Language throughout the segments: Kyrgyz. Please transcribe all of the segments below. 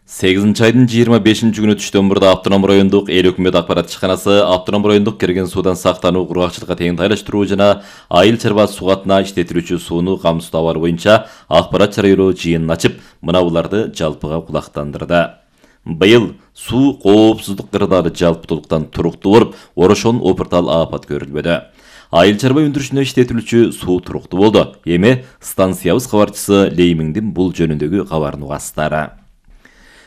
8-айдын 25-күнү түштөн мурда Автоном райондук эл өкмөт акпарат ишканасы Автоном райондук кирген суудан сактануу, кургакчылыкка теңдайлаштыруу жана айыл чарба сугатына иштетилүүчү сууну камсыздоо абалы боюнча акпарат жарыялоо жыйынын ачып, мына буларды жалпыга кулактандырды. Быйыл суу коопсуздук кырдаары жалпытуулуктан туруктуу болуп, орошон опуртал апат көрүлбөдү. Айыл чарба өндүрүшүнө иштетилүүчү суу туруктуу болду. Эми станциябыз кабарчысы Леймиңдин бул жөнүндөгү кабарын угасыздар.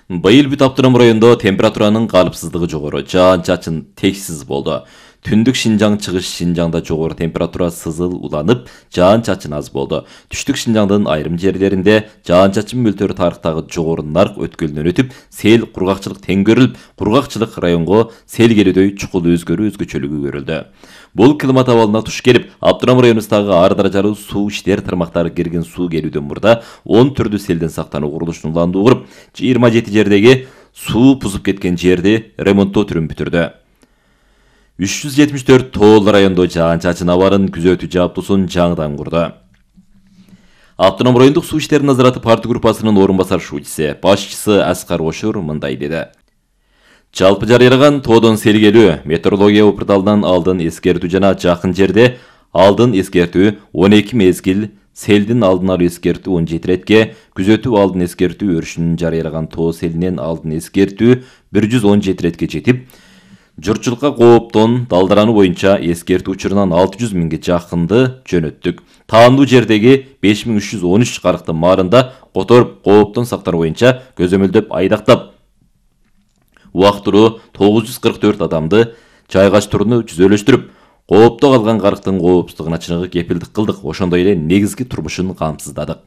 Быйыл бүт Автоном райондо температуранын калыпсыздыгы жогору, жаан-чачын текшсиз болду. Түндүк Шинжаң, чыгыш Шинжаңда жогору температура сызыл уланып, жаан-чачын аз болду. Түштүк Шинжаңдын айрым жерлеринде жаан-чачын мөлтөрү тарыктагы жогору нарк өткөлүнөн өтүп, сел кургакчылык тең көрүлүп, кургакчылык районго сел келүүдөй чукул өзгөрүү-өзгөчөлүгү көрүлдү. Бул климат абалына туш келип, Автоном районубуздагы ар даражалуу суу иштер тармактары кирген суу келүүдөн мурда 10 түрдүү селден сактануу курулушун уландуу куруп, 27 жердеги суу бузуп кеткен жерди ремонттоо түрүн бүтүрдү. 374 тоол райондо жаан-чачын абарын күзөтүү жабдуусун жаңыдан курду. Автоном райондук суу иштери назараты парты группасынын орун басар шуучусу, башчысы Аскар Ошур мындай деди. Жалпы жарыялаган тоодон сел келүү, метеорология опурталынан алдын эскертүү жана жакын жерде алдын эскертүү 12 мезгил, селдин алдын алуу эскертүү 17 иретке, күзөтүү алдын эскертүү өрүшүнүн жарыялаган тоо селинен алдын эскертүү 117 иретке жетип, журтчулукка кооптон далдарануу боюнча эскертүү учурунан 600 миңге жакынды жөнөттүк. Таандуу жердеги 5313 карыктын маарында которуп кооптон сактануу боюнча көзөмөлдөп айдактап, убактылуу 944 адамды жайгаштырууну жүзөлөштүрүп, коопто калган карыктын коопсуздугуна чыныгы кепилдик кылдык, ошондой эле негизги турмушун камсыздадык.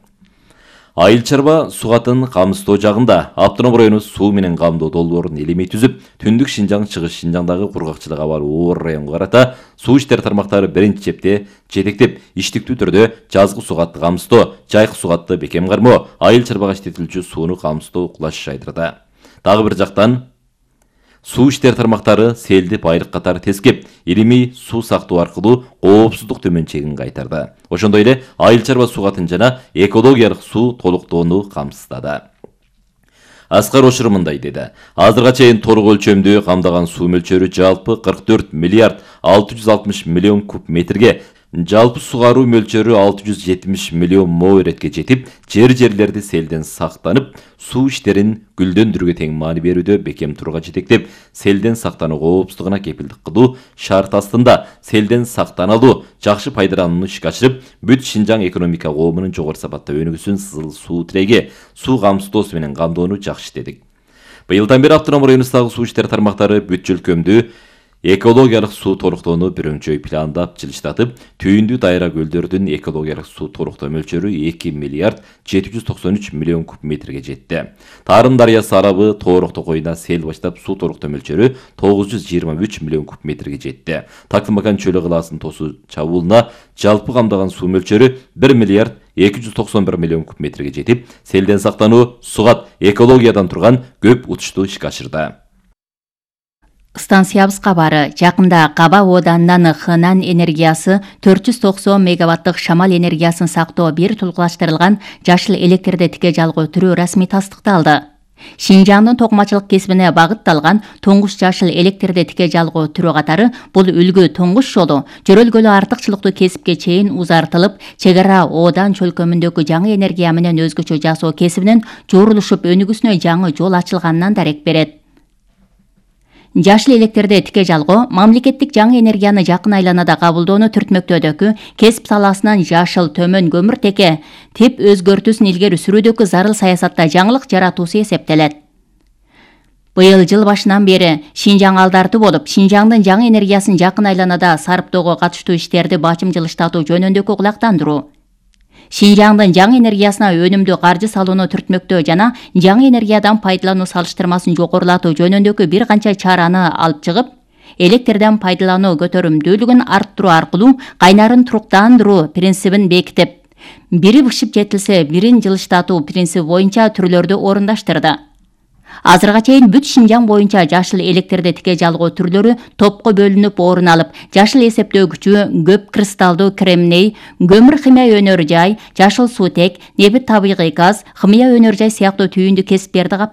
Айыл чарба сугатын камсыздоо жагында Автоном району суу менен камдоо долбоорун элемей түзүп, Түндүк Шинжаң, чыгыш Шинжаңдагы кургакчылык абалы оор районго карата суу иштер тармактары биринчи чепте жетектеп, иштиктүү түрдө жазгы сугатты камсыздоо, жайкы сугатты бекем кармоо, айыл чарбага иштетилүүчү сууну камсыздоо кулаш жайдырды. Дагы бир жактан суу иштер тармактары селди байрык катары тескеп, илимий суу сактоо аркылуу коопсуздук төмөн чегин кайтарды. Ошондой эле айыл чарба сугатын жана экологиялык суу толуктоону камсыздады. Аскар Ошур мындай деди. Азырга чейин толук өлчөмдүү камдаган суу мөлчөрү жалпы 44 миллиард 660 миллион куб метрге, жалпы сугаруу мөлчөрү 670 миллион мо иретке жетип, жерлерди селден сактанып, суу иштерин гүлдөндүрүүгө тең маани берүүдө бекем турга жетектеп, селден сактануу коопсуздугуна кепилдик кылуу шарт астында селден сактаналуу, жакшы пайдаланууну ишке ашырып, бүт Шинжаң экономика коомунун жогору сапатта өнүгүүсүн сызыл суу тиреги, суу камсыздоосу менен камдоону жакшы иштедик. Быйылдан бери Автоном районундагы суу иштери тармактары бүт жөлкөмдүү экологиялык суу толуктоону бүрүңчөй пландап жылыштатып, түйүндүү дайра көлдөрдүн экологиялык суу толуктоо мөлчөрү 2 миллиард 793 миллион куб метрге жетти. Тарын дарыясы арабы Тоорок токойуна сел баштап суу толуктоо мөлчөрү 923 миллион куб метрге жетти. Такымакан чөлү кылаасынын тосу чабуулуна жалпы камдаган суу мөлчөрү 1 миллиард 291 миллион куб метрге жетип, селден сактануу, сугат, экологиядан турган көп учушту ишке ашырды. Станциябыз кабары. Жакында Каба Оданынан Хынан энергиясы 490 мегаваттык шамал энергиясын сактоо бир тулгулаштырылган жашыл электрди тике жалгоо түрү расмий тастыкталды. Шинжаңдын токумачылык кесибине багытталган туңгуч жашыл электрди тике жалгоо түрү катары бул үлгү туңгуч жолу жөрөлгөлүү артыкчылыктуу кесипке чейин узартылып, чек ара Одан чөлкөмүндөгү жаңы энергия менен өзгөчө жасоо кесибинин жуурулушуп өнүгүүсүнө жаңы жол ачылганынан дарек берет. Жашыл электрди тике жалгоо мамлекеттик жаңы энергияны жакын айланада кабылдоону түртмөктөөдөгү кесип саласынан жашыл төмөн көмүртеке тип өзгөртүүсүн илгери сүрүүдөгү зарыл саясатта жаңылык жаратуусу эсептелет. Быйыл жыл башынан бери Шинжаң алдарды болуп, Шинжаңдын жаңы энергиясын жакын айланада сарптоого катыштуу иштерди бачым жылыштатуу жөнүндөгү кулактандыруу, Шинжаңдын жаңы энергиясына өнүмдүү каржы салууну түртмөктөө жана жаңы энергиядан пайдалануу салыштырмасын жогорулатуу жөнүндөгү бир канча чараны алып чыгып, электрден пайдалануу көтөрүмдүүлүгүн арттыруу аркылуу кайнарын туруктандыруу принцибин бекитип, бири бышып жетилсе бирин жылыштатуу принциби боюнча түрлөрдү орундаштырды. Азырга чейин бүт Шинжаң боюнча жашыл электрди тике жалгоо түрлөрү топко бөлүнүп орун алып, жашыл эсептөөгүчү, көп кристалдуу кремний, көмүр химия өнөр жай, жашыл суутек, нефт табигый газ, химия өнөр жай сыяктуу түйүндүү кесиптерди